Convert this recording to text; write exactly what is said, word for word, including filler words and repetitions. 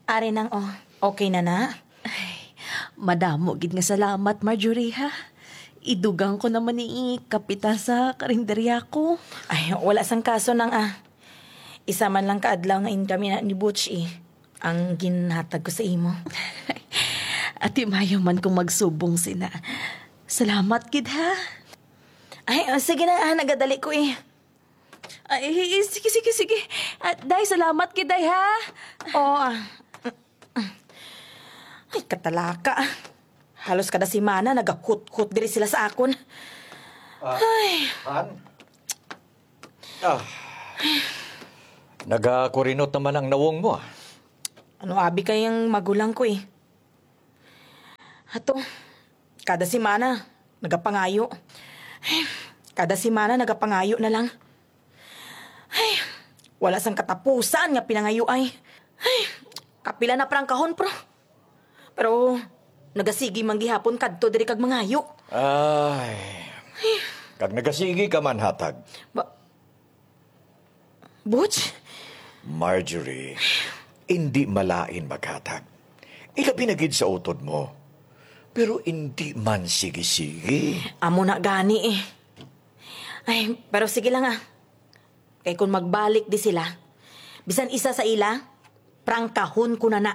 Ari nang, oh. Okay na na? Ay, madamo gid nga salamat, Marjorie, ha? Idugang ko naman ni kapitan sa karinderya ko. Ay, wala sang kaso nang, ah. Isa man lang ka adlaw nga income na ni Butch, eh. Ang ginhatag ko sa imo. Ati, mayo man kung magsubong sina. Salamat gid, ha? Ay, oh, sige na, ah, nagadali ko, eh. Ay, sige, sige, sige. Ah, day, salamat gid, day, ha? Oo, ah. Ay, katalaka. Halos kada semana nagahuthot diri sila sa akon. Ah, Ay. Han? Ah. Nagakurinot naman ang nawong mo, ah. Ano abi kay ang magulang ko, eh. Ato, kada semana, nagapangayo. Ay, kada semana, nagapangayo na lang. Ay, wala sang katapusan nga pinangayo ay. Ay, kapila na prangkahon, pro. Pero, nagasigi man gihapon kadto diri kag mangayo. Ay. Kag nagasigi ka man, hatag. Ba-, Butch? Marjorie, indi malain maghatag. Ilabi na gid sa utod mo. Pero indi man sige-sige. Amo na gani, eh. Ay, pero sige lang, ah. Kay kung magbalik di sila, bisan isa sa ila, prangkahon ko na na.